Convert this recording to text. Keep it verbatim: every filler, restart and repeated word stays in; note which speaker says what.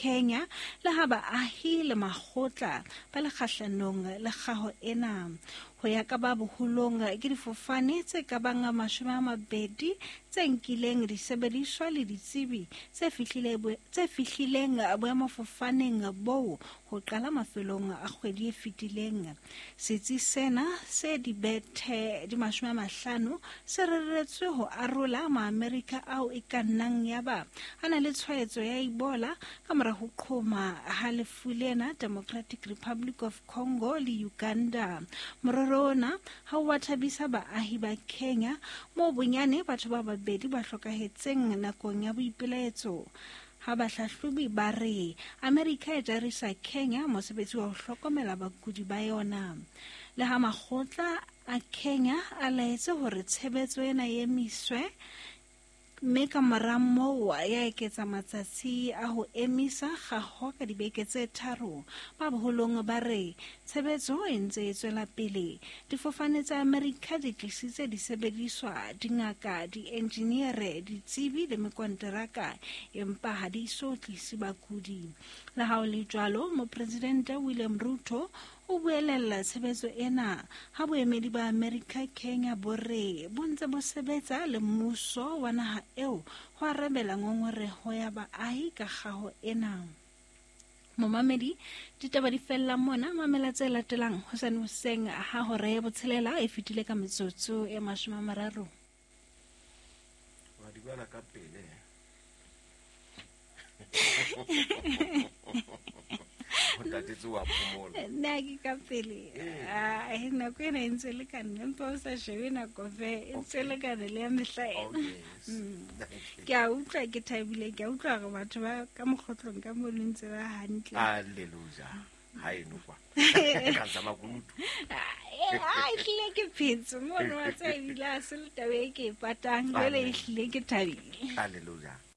Speaker 1: Kenya le ha baahi le makgotla ba le kgahlanong le kgaho ena. Ho ya ka ba boholong ke difofane tse ka bang mashome a mabedi tse nkileng disebediswa le ditsebi tse fihlile tse fihlileng boemafofaneng boo ho qala mafelong a kgwedi e fetileng. Setsi sena se dibethe di mashome a mahlano se reretswe ho arola Maamerika ao e ka nnang ya ba a na le tshwaetso ya Ebola ka mora ho qhoma ha lefu lena Democratic Republic of Congo le Uganda. Morero ona ha o wa thabisa baahi ba Kenya moo bonyane batho ba babedi ba hlokahetseng nakong ya boipelaetso. Ha bahlahlobi ba re Amerika e jarisa Kenya mosebetsi wa ho hlokomela bakudi ba yona. Le ha makgotla a Kenya a laetse hore tshebetso ena e emiswe, mme ka mora moo ya eketsa matsatsi a ho emisa kgaho ka dibeke tse tharo. Ba boholong ba re tshebetso e ntse e tswela pele. Difofane tsa Amerika di tlisitse disebediswa, dingaka, dienjiniere, ditsebi le mekonteraka, empa ha di so tlise bakudi. Le ha ho le jwalo, Mopresidente William Ruto o buelella tshebetso ena ha boemedi ba Amerika Kenya bo re bo ntse bo sebetsa le mmuso wa naha eo ho arabela ngongoreho ya baahi ka kgaho ena. Momamedi, ditaba di fella mona. Mamela tse latelang hosane hoseng ha hora ya botshelela e fetile ka metsotso e mashome a mararo.
Speaker 2: Wa di bala ka pele. O tatetse wa phomola.
Speaker 1: Nna ke ka pele. Ah, nako ena e ntse le ka nna, empa o sa shebe nako fe, e ntse le ka le ya mehla ena. Ke a utlwa ke thabile, ke a utlwa hore batho ba ka mokgotlong ka mono ntse ba hantle.
Speaker 2: Hallelujah. Ha eno kwa. Ka tsa makunutu.
Speaker 1: Ah, ehlile ke phetse mono wa tseba ebile ha se le taba e ke e patang, jwale ehlile ke thabile.
Speaker 2: Hallelujah.